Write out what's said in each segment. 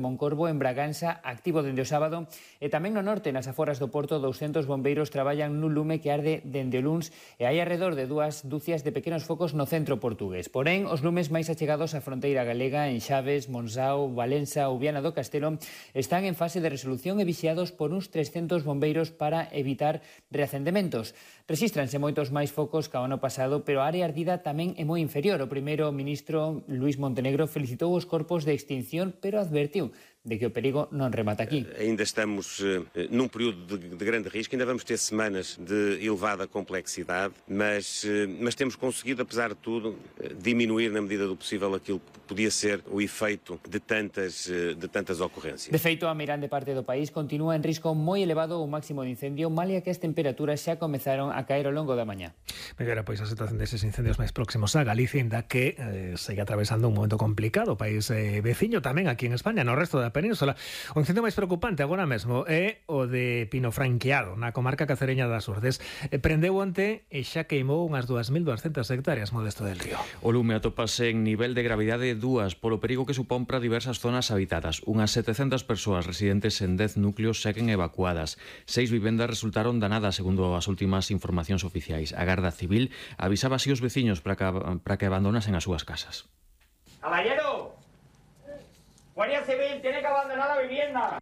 Moncorvo, en Braganza, activo dende o sábado, e tamén no norte, nas aforas do Porto, 200 bombeiros traballan nun lume que arde dende o luns e hai alrededor de 2 dúcias de pequenos focos no centro portugués. Porén, os lumes máis achegados á fronteira galega, en Chaves, Monzao, Valença ou Viana do Castelo, están en fase de resolución e vixiados por uns 300 bombeiros para evitar reacendementos. Rexístranse moitos máis focos que ao ano pasado, pero a área ardida tamén é moi inferior. O primeiro ministro Luís Montenegro felicitou os corpos de extinción, pero advertiu de que o perigo non remata aquí. Ainda estamos num período de grande risco, ainda vamos ter semanas de elevada complexidade, mas temos conseguido, apesar de tudo, diminuir na medida do possível aquilo que podia ser o efeito de tantas ocorrências. De feito, a meirande parte do país continúa en risco moi elevado o máximo de incendio, malia que as temperaturas xa comezaron a caer ao longo da mañá. Mellora, pois a situación deses incendios máis próximos a Galicia, ainda que segue atravesando un momento complicado o país veciño tamén aquí en España, no resto da península. O incendio máis preocupante agora mesmo é o de Pino Franqueado, na comarca cacereña das Urdes. Prendeu onte e xa queimou unhas 2.200 hectáreas, Modesto del Río. O lume atópase en nivel de gravidade 2 polo perigo que supón para diversas zonas habitadas. Unhas 700 persoas residentes en 10 núcleos seguen evacuadas. 6 vivendas resultaron danadas, segundo as últimas informacións oficiais. A Garda Civil avisaba así os veciños para que abandonasen as súas casas. ¡Caballero! Guardia Civil tiene que abandonar la vivienda.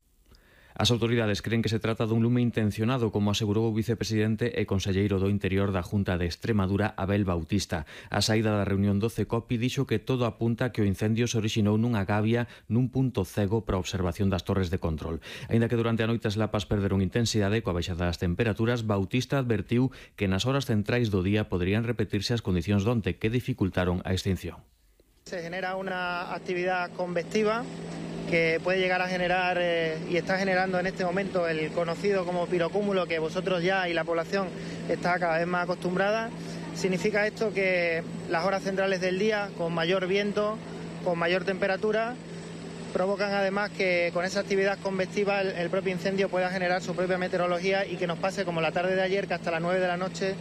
As autoridades creen que se trata dun lume intencionado, como asegurou o vicepresidente e conselleiro do Interior da Junta de Extremadura, Abel Bautista. A saída da reunión do CECOPI dixo que todo apunta que o incendio se orixinou nunha gavia nun punto cego para a observación das torres de control. Aínda que durante a noite as lapas perderon intensidade coa baixada das temperaturas, Bautista advertiu que nas horas centrais do día poderían repetirse as condicións donte que dificultaron a extinción. Se genera una actividad convectiva que puede llegar a generar y está generando en este momento el conocido como pirocúmulo, que vosotros ya y la población está cada vez más acostumbrada. Significa esto que las horas centrales del día, con mayor viento, con mayor temperatura, provocan además que con esa actividad convectiva el propio incendio pueda generar su propia meteorología y que nos pase como la tarde de ayer, que hasta las 9 de la noche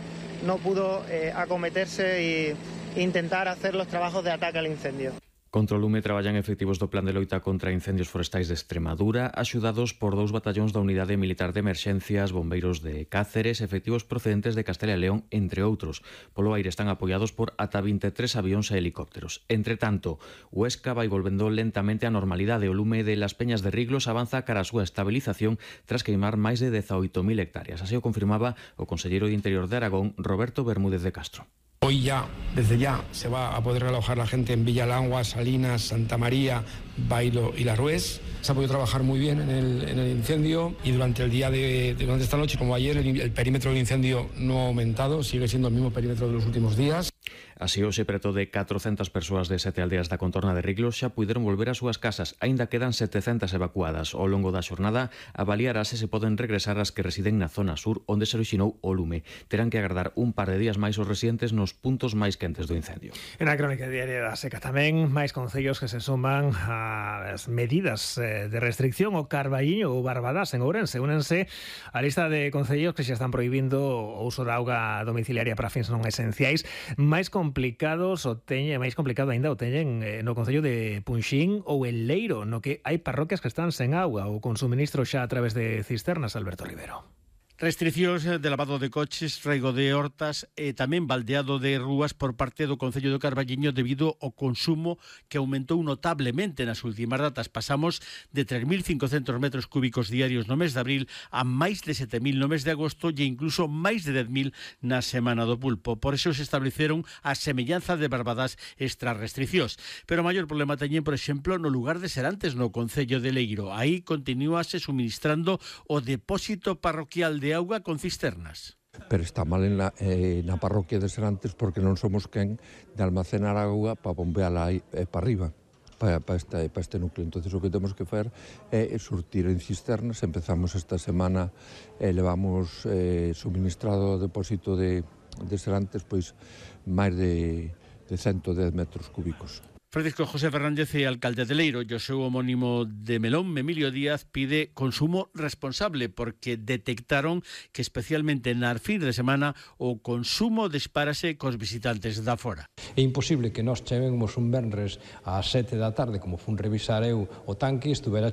no pudo acometerse y intentar hacer los trabajos de ataque al incendio. Contra o lume traballan efectivos do Plan de Loita contra Incendios Forestais de Extremadura, axudados por 2 batallóns da Unidade Militar de Emerxencias, bombeiros de Cáceres, efectivos procedentes de Castela e León, entre outros. Polo aire están apoiados por ata 23 avións e helicópteros. Entre tanto, Huesca vai volvendo lentamente á normalidade. O lume de Las Peñas de Riglos avanza cara a súa estabilización tras queimar máis de 18.000 hectáreas. Así o confirmaba o conselleiro de Interior de Aragón, Roberto Bermúdez de Castro. Hoy ya, desde ya, se va a poder alojar la gente en Villalangua, Salinas, Santa María, Bailo y La Rués. Se ha podido trabajar muy bien en el incendio y durante el día durante esta noche, como ayer, el perímetro del incendio no ha aumentado, sigue siendo el mismo perímetro de los últimos días. Así, hoxe, preto de 400 persoas de 7 aldeas da contorna de Riglos xa puderon volver ás súas casas. Aínda quedan 700 evacuadas. Ao longo da xornada, avaliarase se poden regresar as que residen na zona sur, onde se orixinou o lume. Terán que agardar un par de días máis os residentes nos puntos máis quentes do incendio. En a crónica diaria da Seca tamén, máis concellos que se suman ás medidas de restricción. O Carballiño ou Barbadás en Ourense únense á lista de concellos que xa están prohibindo o uso de auga domiciliaria para fins non esenciais. Máis complicado aínda o teñen no concello de Punxín ou El Leiro, no que hai parroquias que están sen auga ou con suministro xa a través de cisternas. Alberto Rivero. Restriccións de lavado de coches, rego de hortas e tamén baldeado de rúas por parte do Concello do Carballiño debido ao consumo que aumentou notablemente nas últimas datas. Pasamos de 3.500 metros cúbicos diarios no mes de abril a máis de 7.000 no mes de agosto e incluso máis de 10.000 na Semana do Pulpo. Por iso se estableceron a semellanza de Barbadás estas restriccións. Pero o maior problema teñen, por exemplo, no lugar de Serantes, no Concello de Leiro. Aí continuase suministrando o depósito parroquial de auga con cisternas. Pero está mal en na parroquia de Serantes porque non somos quen de almacenar auga para bombeala aí para arriba, para este núcleo. Entonces o que temos que facer é surtir en cisternas. Empezamos esta semana, levamos suministrado o depósito de Serantes pois máis de 110 metros cúbicos. Francisco José Fernández, alcalde de Leiro, e o seu homónimo de Melón, Emilio Díaz, pide consumo responsable porque detectaron que especialmente nas fin de semana o consumo dispárase cos visitantes da fora. É imposible que nós cheguemos un venres ás 7 da tarde, como fun revisar eu o tanque, estuvera